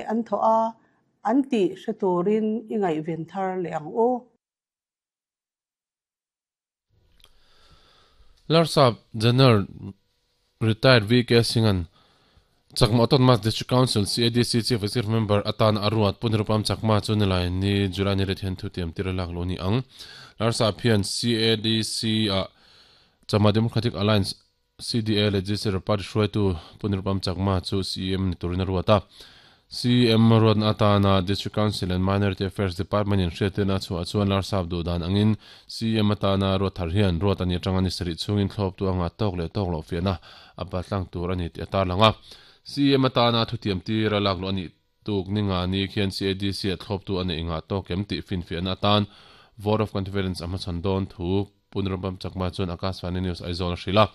an thawh a, an tih hre turin i ngaihven thar leh ang u. Larsap General Retired VK Singh-a'n Chakma Autonomous District Council, CADC, Chief Executive Member atan a ruat Pu Nirupam Chakma chu nilai ni July ni rit hian thu tiam tir a lak lo ni ang. Larsap hian CADC-ah Chakma Democratic Alliance, CDA Legislature Party hruaitu Pu Nirupam Chakma chu CEM ni turin a ruat a. CEM ruatna atana District Council and Minority Affairs Department in hriattirna a chhuah chuan Larsap duh dan angin CEM atana ruat thar hian ruat a nih atanga ni sarih chhungin thlawptu a ngah tawk leh tawk loh fiahna a batlang tur a ni tih a tarlang a. CEM atana thutiam tir a lakluh a nih tuk ni nga ni khian CADC ah thlawptu a neih ngah tawk em tih finfiahna atan Vote of Confidence a hmachhawn dawn thu Pu Nirupam Chakma chuan Akashvani News Aizawl a hrilh a.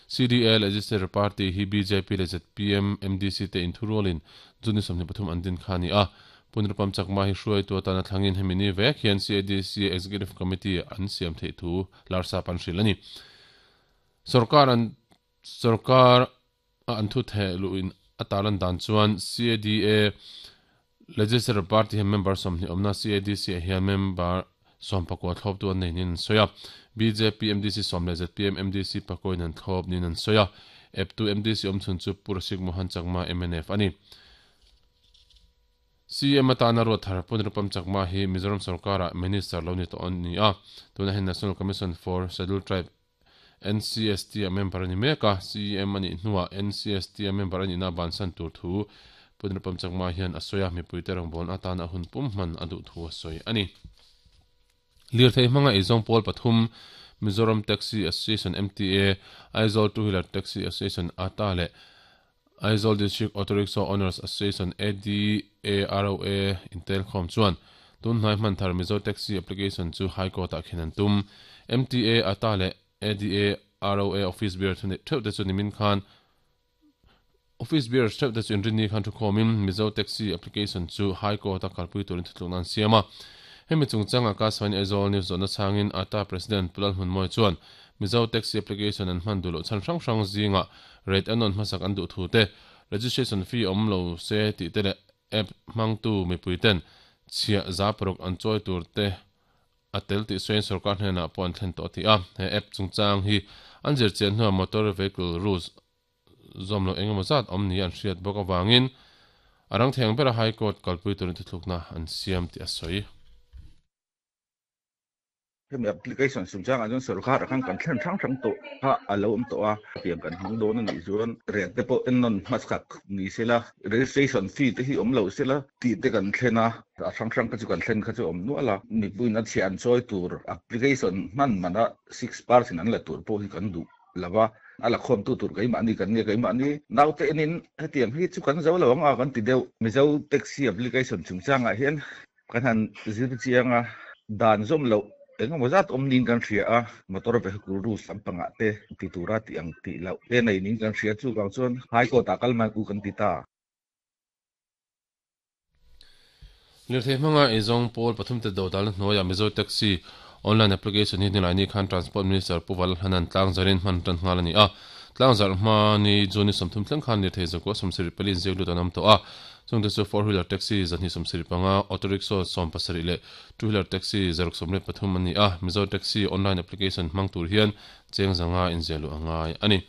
CDA Legislature Party hi bjp leh zpm, MDC te inthurualin June ni 23 an din kha a ni a. Pu Nirupam Chakma hi hruaitu atana thlangin hemi ni vek hian CADC Executive Committee an siam theih thu Larsap an hrilh a ni. Sorkar an sorkar a an thu theh luhin a tarlan dan chuan CADA Legislature Party hian member 20 awmna CADC ah hian member 19 thlawptu an nei niin an sawi a. Bjp MDC sawm leh zpm MDC pakawin an thlawp niin an sawi a. Eptu MDC awmchhun chu Pu Rasik Mohan Chakma mnf a ni. CM atana ruat thar Pu Nirupam Chakma hi Mizoram sorkarah Minister lo ni tawh a ni a. Tunah hian National Commission for Scheduled Tribe NCST a member a ni mek a, CEM a nih hnuah NCST a member a nihna bansan tur thu Pu Nirupam Chakma hian a sawi a, mipuite rawngbawlna atana a hun pum hman a duh thu a sawi a ni. Lirthei hmanga eizawng pawl pathum, Mizoram Taxi Association, MTA, Aizawl Two Wheeler Taxi Association, ata, leh Aizawl District Auto Rickshaw Owners Association, ADAROA, intelkhawm chuan tun hnai hman thar Mizo Taxi Application chu High Court-ah khen an tum. MTA, ata leh ADAROA office bearer thu neih theuh te chu nimin khan Office bearers theuh te chu inrinni khan thukhawmin Mizo Taxi Application chu High Court-a kalpui turin thutlukna an siam a. Hemi chungchanga Kasvani Aizawl News zawhna chhangin ata President Pu Lalhmunmawia chuan Mizo Taxi Application an hman duh loh chhan hrang hrang zingah rate a nawn hmasak an duh thu te, registration fee awm lo se tih te leh app hmangtu mipui ten chhiah za paruk an chawi tur te a tel tih sawiin sorkar hnenah pawh an thlen tawh a ti a. He app chungchang hi an zirchian hnuah Motor Vehicle Rules zawm loh engemaw zat awm ni an hriat bawk avangin a rang thei ang bera High Court kalpui turin thuthlukna an siam tih a sawi. Hemi application chungchangah chuan sorkar ah khan kan thlen hrang hrang tawh kha a lo awm tawh a, hetiang kan hmang dawn a nih chuan rate te pawh en nawn hmasak ni sela, registration fee te hi awm lo sela tih te kan thlen a, a hrang hrang kha chu kan thlen kha chu a awm nual a, mipuiin a chhiah an chawi tur application hman mana 6% an la tur pawh hi kan duh lo va, a la khawmtu tur keimahni kan nia, keimahni naute enin hetiang hi chu kan zo lo ang a kan ti deuh. Mizo taxi application chungchangah hian Kan han zir chiang a, dan zawm loh eng emaw zat awm niin kan hria a, motor vehicle rules lampangah te ti tura tih ang tih loh te nei niin kan hria, chuvang chuan High Court ah kal mai u kan ti ta. Lirthei hmanga eizawng pawl pathum te dodalna hnuaiah Mizo Taxi Online Application hi hnilaini khan Transport Minister Pu Valhanan tlangzarin hman tan nghal a ni a. Tlangzarh hma ni June ni 30 thleng khan lirthei zakua 74 inziak lut an awm tawh a. Chungte chu four wheeler taxi 275, auto rickshaw 17 leh two wheeler taxi 63 an ni a. Mizo Taxi online application hmang tur hian cheng zanga inziah luh a ngai a ni.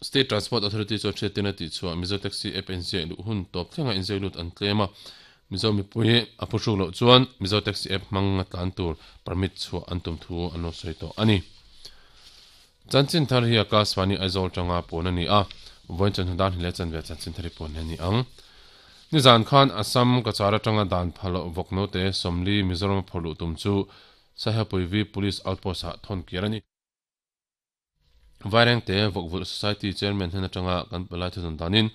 State Transport Authority chuan hriattirna tih chhuah Mizo Taxi app a inziah luh hun tawp thlenga inziak lut an tlem a. Mizo mipui a phuhruk loh chuan Mizo Taxi app hmang a tlan tur permit chhuah an tum thu an lo sawi tawh a ni. Chanchin thar hi Akashvani Aizawl tanga pawn a ni a, vawiin chawhnu dan hi leh chanve chanchin thar hi pawn a ni ang. Nizan khan Assam Cachar atanga dan phal loh vawk note 40 Mizoram a phawrh luh tum chu Saihapuivi Police Outpost ah thawn kir a ni. Vairengte Vawkvulh Society Chairman hnen atanga kan palai thudawn danin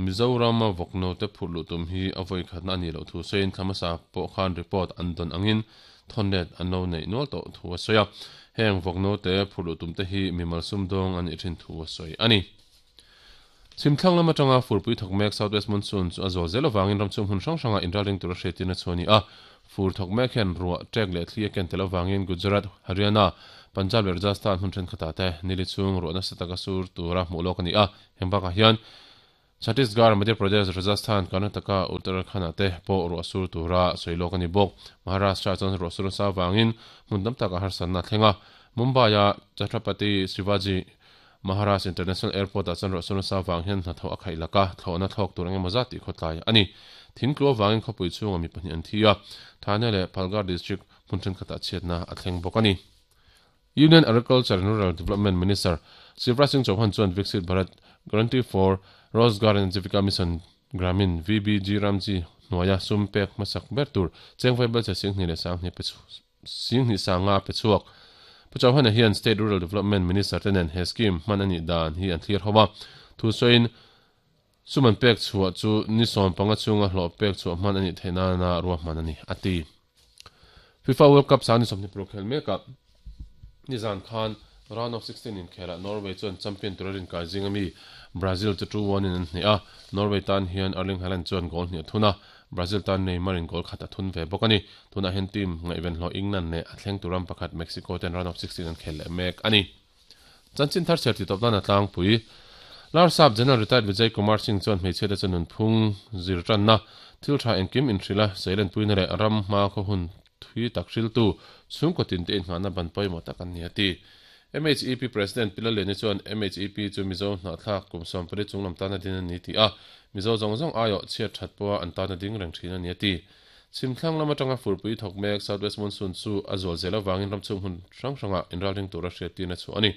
Mizoram a vawk note phurh luh tum hi a vawi khatna a nih loh thu sawiin thla hmasa pawh khan report an dawn angin thawn let an lo neih nual tawh thu a sawi a. Heng vawk note phurh luh tum te hi mimal sumdawng a nih thin thu a sawi a ni. Chhimthlang lam atanga furpui thawk mek South West Monsoon chu a zawl zel avangin ramchhung hmun hrang hrangah inralring tura hriattirna chu a ni a. Fur thawk mek hian ruah, ṭek leh thli a ken tel avangin Gujarat, Haryana, Punjab leh Rajasthan hmun thenkhatah te nili chhung ruah nasa taka sur tura hmuh lawk a ni a. Heng bakah hian. Chhattisgarh, Madhya Pradesh, Rajasthan, Karnataka, Uttarakhand-ah te pawh ruah sur tura sawi lawk a ni bawk. Maharashtra-ah chuan ruah sur nasa avangin hmun tam takah harsatna a thleng a. Mumbai-a Chhatrapati Shivaji Maharaj International Airport-ah chuan ruah sur nasa avang hian hnathawh a khaih lak a, thlawhna thlawk tur eng emaw zat tih khawtlai a ni. Thingtlu avangin khawpui chhunga mi pahnih an thi a, Thane leh Palghar district hmun thenkhatah chhiatna a thleng bawk a ni. Union Agriculture and Rural Development Minister Shivraj Singh Chauhan chuan Viksit Bharat Guarantee for Rozgar and Ajivika Mission Gramin, VBG Ramji, hnuaia sum pek hmasak ber tur chengvai belche Singhnih leh Sanghnih pe Singhnih Sanga pe chhuak. Pu Chauhan-a hian State Rural Development Minister te nen he scheme hman a nih dan hi an thlir ho a. Thu sawiin sum an pek chhuah chu ni 15 chhunga hlawh pek chhuah hman a nih theih nana ruahman a ni, a ti. FIFA World Cup sang ni 26 khel mekah nizan khan round of 16 inkhelah Norway chuan champion tura rinkai zing ami Brazil chu 2-1 in an hneh a, Norway tan hian Erling Haaland chuan goal hnih a thun a, Brazil tan Neymar in goal khat a thun ve bawk a ni. Tunah hian team ngaihven hlawh England leh a thleng tur ram pakhat Mexico ten round of 16 an khel leh mek a ni. Chanchin thar chher titawp nan a tlangpui. Larsap General Retired Vijay Kumar Singh chuan hmeichhiate chu nunphung zir tanna, thil tha engkim inhrilh a, seilenpuina leh ram hma khaw hun thui tak hriltu chhungkaw tinte inngahna ban pawimawh tak an ni a ti. MHEP President Pi Lalliani chuan MHEP chu Mizo hnahthlak kum 14 chunglam tana din a ni tih a, Mizo zawng zawng aiawh chhiat that pawha an tana ding reng thin a ni a ti. Chhimthlang lam atanga furpui thawk mek South West Monsoon chu a zual zel avangin ramchhung hmun hrang hrangah inralring tura hriattirna chhuah a ni.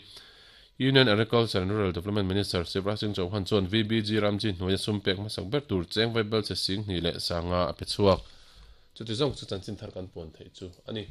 Union Agriculture and Rural Development Minister Shivraj Singh Chauhan chuan VBG Ramji hnuaia sum pek hmasak ber tur cheng vaibelchhe 25 a pe chhuak. Chuti zawng chu chanchin thar kan puan theih chu a ni.